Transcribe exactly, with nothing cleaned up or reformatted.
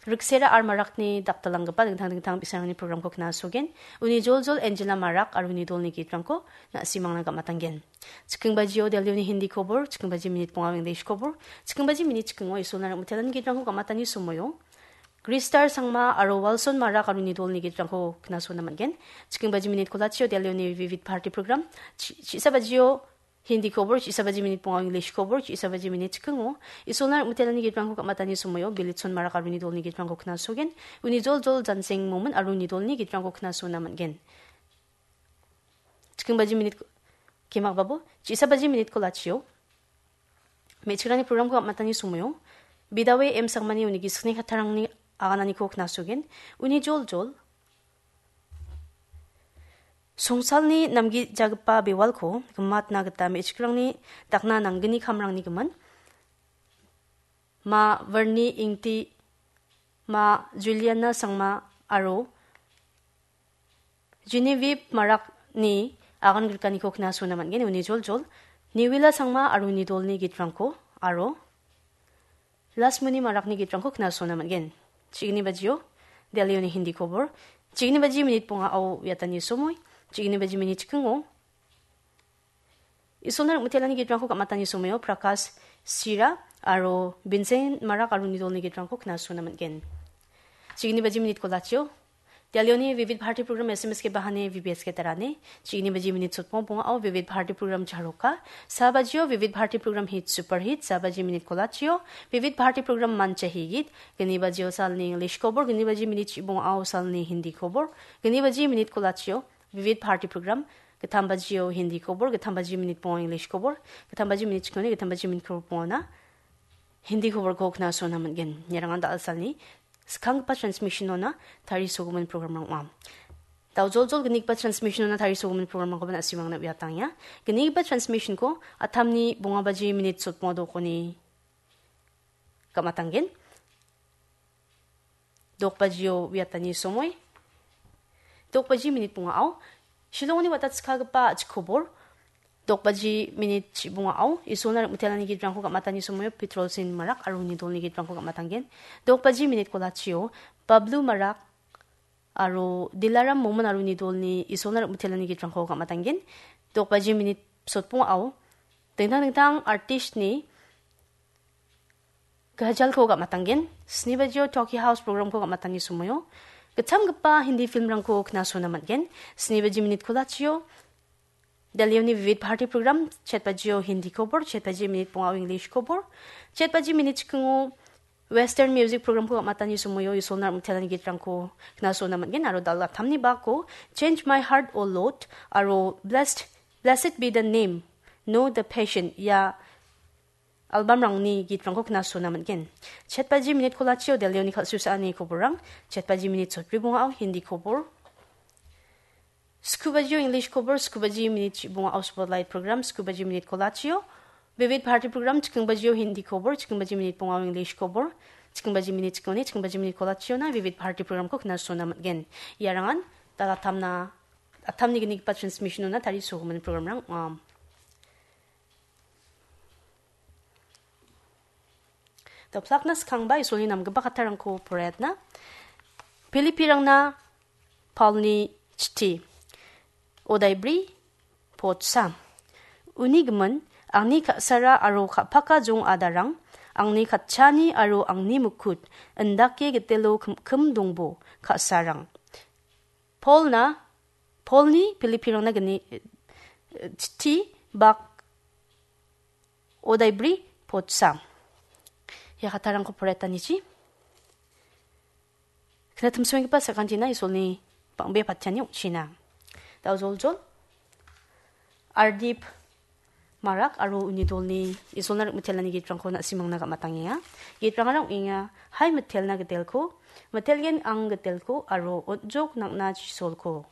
Riksera R Marakni daktalanggipa dingtang dingtang bi·sarangni programko knasogen. Uni joljol Angela Marak aro uni dolni gitrangko na·simangna gam·atanggen. Chikkingbajio Delhioni Hindi kobor, chikingbaji minit bonga English kobor, chikingbaji minit chikingo Isolna rim·mitelani gitrangko gam·atani somoio Gristar Sangma aro Walson Marak aro uni dolni gitrangko knasona man·gen. Chikingbaji minit kolachio Delhioni Vivid Bharati program, chi-, chi·sabajio Hindi kobor, chi·sabaji minit bonga English kobor, chi·sabaji minit chikingo Isolna rim·mitelani gitrangko gam·atani somoio Bilitson Marak aro uni dolni gitrangko knasogen. Uni joljol Janseng Momin aro uni dolni gitrangko knasona man·gen. Chikingbaji minit ko-, kemakbabo, chi·sabaji minit kolachio me·chikrangni programko gam·atani somoio Bidawe M Sangmani uni gisik kattarangni agananiko knasogen. Uni joljol Songsalni namgijagipa bewalko gimatna gita me·chikrangni dakna nanggni kamrangni gimin, Ma Verni Ingti, Ma Juliana Sangma aro Genevieve Marakni agan grikaniko knasona man·gen. Uni joljol Niwila Sangma aro uni dolni gitrangko aro Lasmuni Marakni gitrangko knasona man·gen. Chigni bajio Delhioni Hindi kobor. Chigni baji minit bongao uiatani somoi. Chigni baji minit chikingo Isolna rim·mitelani gitrangko gam·atani somoio Prakash Sira aro Vincent Marak aro uni dolni gitrangko knasona man·gen. Chigni baji minit kolachio Delhioni Vivid Bharati program S M S ke bahane V B S ke tarane. Chigni baji minit sotbong bongao Vivid Bharati program charoka. Sa bajio Vivid Bharati program hit super hit. Sa baji minit kolachio Vivid Bharati program mancha higit. Gni bajio salni English kobor. Gni baji minit chibongao salni Hindi kobor. Gni baji minit kolachio Vivid Bharati program. Gittam bajio Hindi kobor. Gittam baji minit bongo English kobor. Gittam baji minit chikoni. Gittam baji minit kobor bongona Hindi koborko knasona man·gen. Iarangan da·alsalni skanggipa transmissionona tarisogimin programrang ong·a. Daojoljol gnigipa transmissionona tarisogimin programrangkoba na·simangna uiatangenga. Gnigipa transmissionko atamni bonga baji minit sotbonga dokoni gam·atanggen. Dokbajio uiatani somoi. Dokbaji minit bongao. Shillongni watatskagipa a·chik kobor. Dokbaji minit chibongao. Isolna rim·mitelani gitrangko gam·atani somoio Petrol Sin Marak aro uni dolni gitrangko gam·atanggen. Dokbaji minit kolachio Bablu Marak aro Dilaram Momin aro uni dolni Isolna rim·mitelani gitrangko gam·atanggen. Dokbaji minit sotbongao. Dingtang dingtang artistni Gajalko gam·atanggen. Sni bajio Talkie House programko gam·atani somoio gitchamgipa Hindi filmrangko knasona man·gen. Sni baji minit kolachio Delhioni Vivid Bharati program, chet bajio Hindi kobor, chet baji minit bongao English kobor, chet baji minit chikingo Western music programko gam·atani somoio Isolna rim·mitelani gitrangko knasona man·gen aro dal·a tamni bako Change My Heart, O Lord aro Blessed, Blessed Be the Name, Know the Passion ia albamrangni gitrangko knasona man·gen. Chet baji minit kolachio Delhioni kal·susaani koborrang, chet baji minit sotbri bongao Hindi kobor, sku bajio English kobor, sku baji minit chibongao Spotlight program, sku baji minit kolachio Vivid Bharati program, chiking bajio Hindi kobor, chiking baji minit bongao English kobor, chiking baji minit chikoni, chiking baji minit kolachiona Vivid Bharati programko knasona man·gen. Iarangan dal·a tamna, atamni gnigipa transmissionona tarisogimin programrang ong·a. Doplakna skangba Isolni namgipa kattarangko poraiatna. Pilipirangna Paulni chitti. Odaibri potsa. Uni gimin, angni ka·sara aro ka·paka jong adarang, angni katchani aro angni mukut, indake gitelo kim-, kim dongbo, ka·sarang. Paulna, Paulni Pilipirangna gni-, eh, chitti bak odaibri potsa. Ia kattarangko poraiatanichi. Knatimsoenggipa sakantina Isolni bang·bea patiani ong·china. Daojoljol, Ardip Marak aro uni dolni Isolna rik-mitelani gitrangko na·simangna gam·atangenga. Gitrangara ong·enga, hai mitelna gidelko, mitelgen ang gidelko aro on·jok nang·na chisolko.